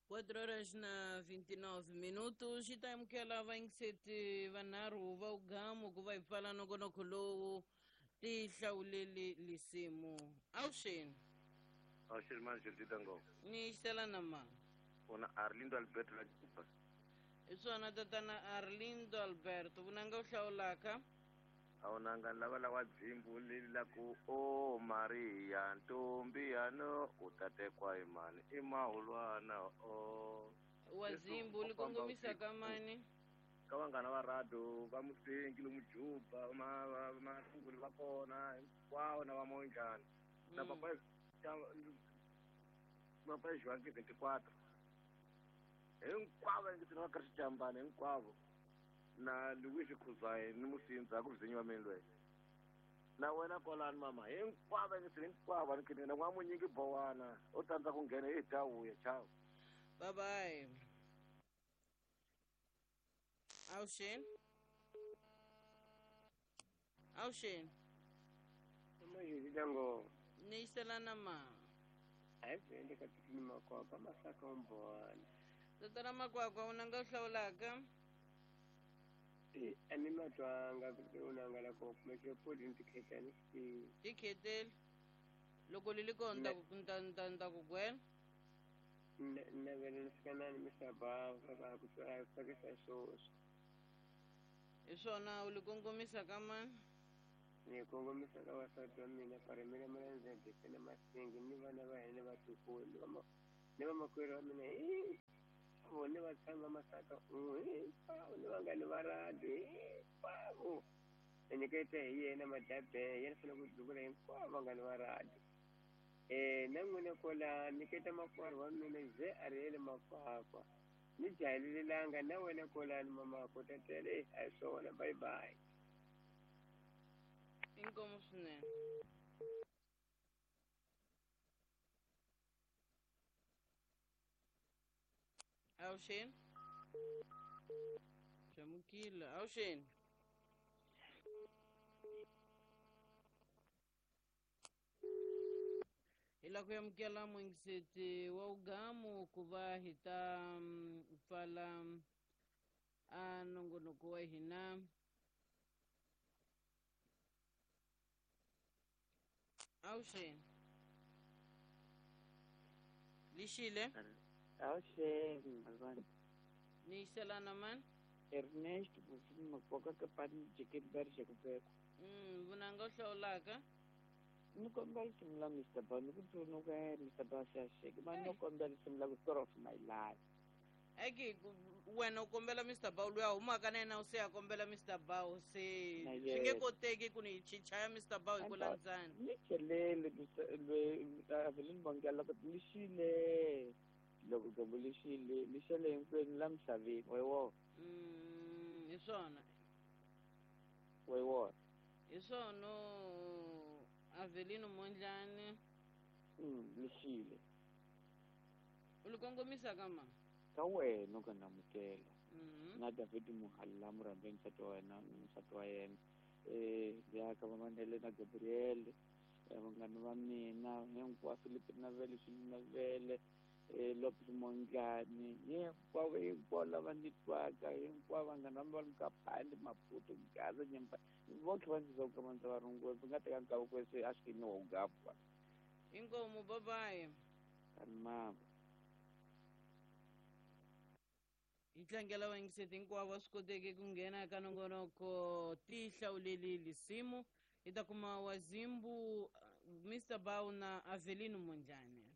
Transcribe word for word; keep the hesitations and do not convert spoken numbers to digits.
quatro horas na vinte e nove minutos xi ta amukela vayingiseti vanharhu va ugamu ku va hi pfala nongonoko lowu ti hlawuleli lisimu. Avuxeni. Avuxeni manje Ndita. Ni xitela na ma. Ona Arlindo Alberto la Juba. Hi swona tatana Arlindo Alberto vunanga u hlawulaka. Awunanga lava lawa dzimbu leli la ku o Maria ntombi yano u ta tekwa hi mani i mahulwana o. Wa dzimbu li kongomisa ka mani? Ka vanghana va radio va Musengi lomu Juba ma Masunguli va kona hinkwavo na va Monjani na papa papa João vinte e quatro hinkwavo va va karhi xijambana hinkwavo na Luis Khuzwayo ni Musindza ku vizinyiwa mina loyi na wena kwalani mama hinkwavo hinkwavo ni na n'wamunyingi bowana u tsandza ku nghena hi dya vuya chao. Bye bye. Avuxeni. Avuxeni. Majidango. Ni xitela na ma. A hi ka tikini makwakwa masaka umbona. Tatana Makwakwa unanga u hlawulaka? E a ni matwanga ku unanga la ko kumeke podi ni tikhetani xi. Tikheteli. Loko li li kona nta ku nta nta nta ku gwela. Navela ni fika na ni Mister Bava va ku tsakisa swoswo. Hi swona u li kongomisa ka mani? Ni kongomisa ka vasati wa mina Parimela Malandzedeke na Masingi ni vana va hina vatukulu ni va ni vamakwerhu wa mina hinkwavo ni vatshami va Masaka un'we hinkwavo ni vanghani va radio hinkwavo. Ni nyiketa hi yena Madabe yena fanele ku duvula hinkwavo vanghani va radio. Eh na n'wina kwala nyiketa makwerhu wa mina ze a ri yele Makwakwa ni jahelelanga na wena kwalani mama ko tatele a hi swona bye bye. Inkomu swinene. Avuxeni. Xamukile. Avuxeni. Hi lava ku amukela muyingiseti wa ugamu ku va hi ta pfala a nongonoko wa hina. Avuxeni. Lixile. Avuxeni mazwana. Ni xelana mani? Ernest Bufini Makwakwa ka pani jeketi va ri xekupeko. Mm, vunanga u hlawulaka? Ni kombela risimu la Mister Ba, ni ku tsundzuka Mister Ba Shasheke, ma ni kombela risimu la ku Story of My Life. Eki wena u kombela Mister Ba luya humaka na yena u se a kombela Mister Ba se swi nge koteki ku ni chichaya Mister Ba hi ku landzana. Ni chelele Avelin Bongela ku lixile loko dyambu lixile lixele hinkwenu la misaveni wa wona. Mm, hi swona. Wa wona. Hi swona Avelino Mondlane. Mm, lixile. U li kongomisa ka ma? Ka wena u ka namukela. Mm-hmm. Na David Muhalla murhangeri nsati wa wena nsati wa yena. Eh ya ka va Mandela na Gabriel vanghana va mina hinkwavo Philip Navele Navele eh Lopez Mondlane hinkwavo hinkwavo lava ni twaka hinkwavo vanghana va va Mkapani Maputo Gaza Nyimba vonke va ndzi ka mandza va rungula va nga teka nkarhi ku se a swi ni wo gapwa. Inkomu bye bye. Mama. Hi tlangela vayingiseti hinkwavo va swi koteke ku nghena ka nongonoko ti hlawuleli lisimu hi ta kuma Wazimbu Mister Bao na Avelino Mondlane.